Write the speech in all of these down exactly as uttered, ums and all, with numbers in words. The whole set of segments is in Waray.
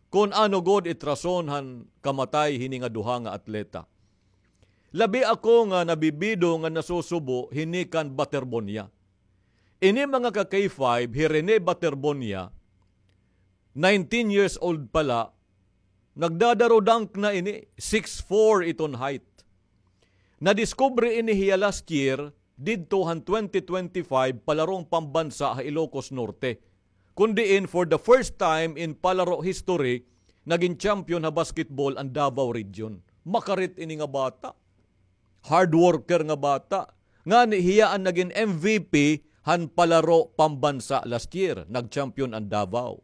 kon ano gud it rason han kamatay hini nga duha nga atleta. Labi ako nga nabibido nga nasusubo hini kan Baterbonia. Ini mga ka K five, hi Rene Baterbonia, nineteen years old pa la, nagdadaro dunk na ini, six four iton height. Nadiskubre ini hiya last year, didto han twenty twenty-five palarong pambansa ha Ilocos Norte. Kun diin, for the first time in palaro history, nagin champion ha basketball an Davao Region. Makarit ini nga bata. Hard worker nga bata. Ngani hiya an nagin M V P han palaro pambansa last year. Nag-champion an Davao.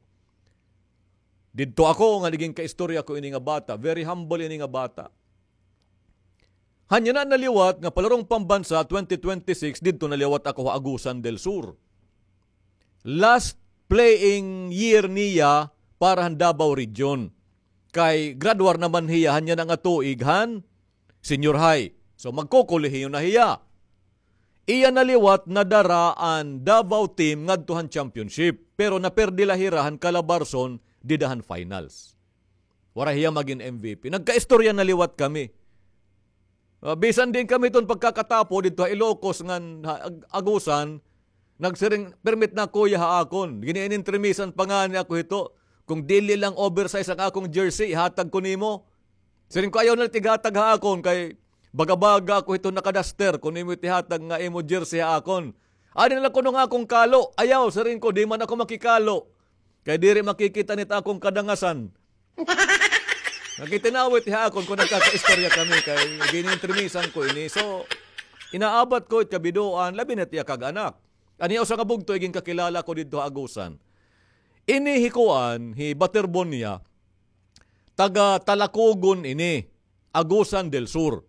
Didto ako nga nagin kaistorya ko ini nga bata. Very humble ini nga bata. Hanya na naliwat nga palarong pambansa twenty twenty-six, didto naliwat ako ha Agusan del Sur. Last playing year niya para han Davao Region. Kay graduar naman hiya hanya na nga tuig han senior high. So magkokolehiyo na hiya. Iya naliwat nadara an Davao team ngadto han championship, pero naperdi la hira han Calabarzon dida han finals. Waray hiya magin M V P. Nagkaistorya na liwat kami. Ah, bisan din kami ton pagkakatapo didto ha Ilocos ngan ha Ag-, Agusan, nagsiring, "Permit na, kuya, ha akon." Gin-iintrimisan pa ngani ako hito. "Kung dili lang oversize an akon jersey, ihatag ko nimo." Siring ko, "Ayaw na la it ighatag ha akon kay baga-baga ako hito nakadaster kon imo it ihatag nga imo jersey ha akon." "Adi na la kuno nga akon kalo." "Ayaw," siring ko, "di man ako makikalo. Kay diri makikita nit akon kadangasan." Nakitinawit ha akon kon nagkakaistorya kami kay gin-iintrimisan ko ini. So, inaabat ko it kabidoan, labi na it iya kag-anak. An iya usa nga bugto, iginkakilala ko didto ha Agusan. Ini hi kuan, hi Baterbonia, taga Talacogon ini, Agusan del Sur.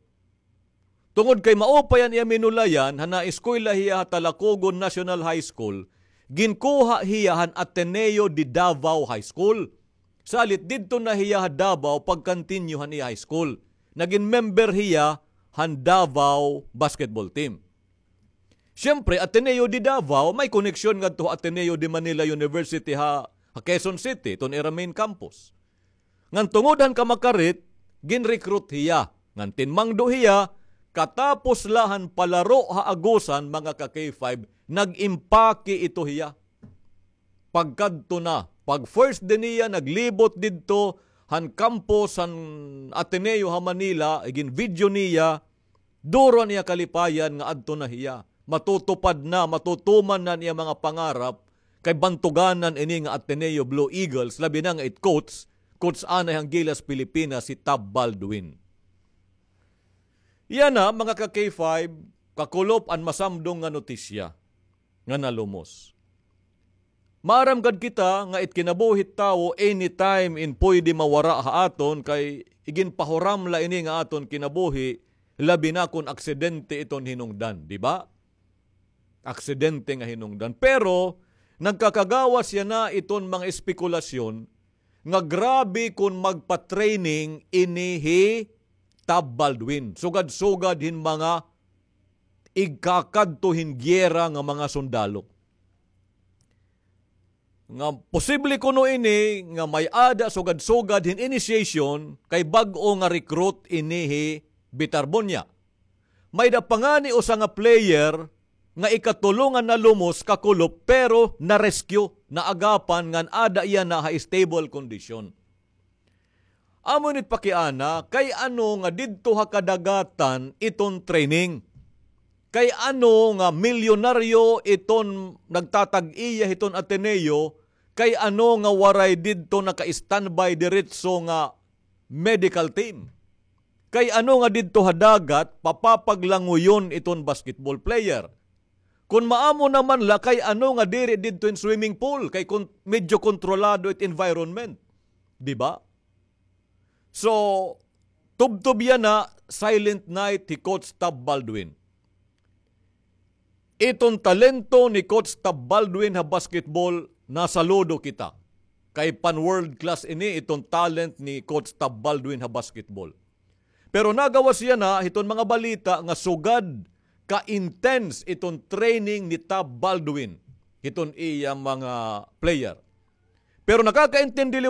Tungod kay maupay an iya minulayan, han naeskwela hiya ha Talacogon National High School, ginkuha hiya han Ateneo de Davao High School. Salit didto na hiya ha Davao pag-continue han iya high school. Nagin member hiya han Davao basketball team. Siyempre, Ateneo de Davao, may koneksyon ngadto ha Ateneo de Manila University ha, ha Quezon City, iton ira main campus. Ngan tungod han kamakarit, gin-recruit hiya. Ngan tinmangdo hiya, katapos la han palaro ha Agusan, mga ka K five, nag-impake ito hiya. Pagkadto na, pag first day niya, naglibot didto han campus han Ateneo ha Manila, gin-video niya, duro an iya kalipayan nga adto na hiya. Matutupad na, matutuman na an iya mga pangarap, kay bantuganan ini nga Ateneo Blue Eagles, labi na nga it coach, coach anay han Gilas Pilipinas, hi Tab Baldwin. Yana, mga ka K five, kakulop an masamdong nga notisya nga nalumos. Maaram gad kita nga it kinabuhi it tawo anytime in pwede mawara ha aton, kay iginpahuram la ini nga aton kinabuhi, labi na kon aksidente iton hinungdan, di ba? Aksidente nga hinungdan. Pero nagkakagawas yana iton mga espekulasyon nga grabe kon magpa-training ini hi Tab Baldwin. Sugad-sugad hin mga igkakadto hin giyera nga mga sundalo. Nga posible kuno ini nga may-ada sugad-sugad hin initiation kay bag-o nga recruit ini hi Baterbonia. May-ada pa ngani usa nga player nga ikatulo nga nalumos, kakulop, pero na-rescue, naagapan ngan ada yana ha stable condition. Amo ini it pakiana, kay ano nga didto ha kadagatan iton training? Kay ano nga milyonaryo iton nagtatag-iya hiton Ateneo, kay ano nga waray didto naka-standby diretso nga medical team? Kay ano nga didto ha dagat papapaglanguyon iton basketball player? Kon maamo naman la, kay ano nga diri didto hin swimming pool, kay kon-, medyo kontrolado it environment. Di ba? So, tubtob yana, silent night hi Coach Tab Baldwin. Iton talento ni Coach Tab Baldwin ha basketball, nasaludo kita. Kay pan-world class ini iton talent ni Coach Tab Baldwin ha basketball. Pero nagawas yana hiton mga balita nga sugad ka-intense iton training ni Tab Baldwin hiton iya mga player. Pero nakakaintindi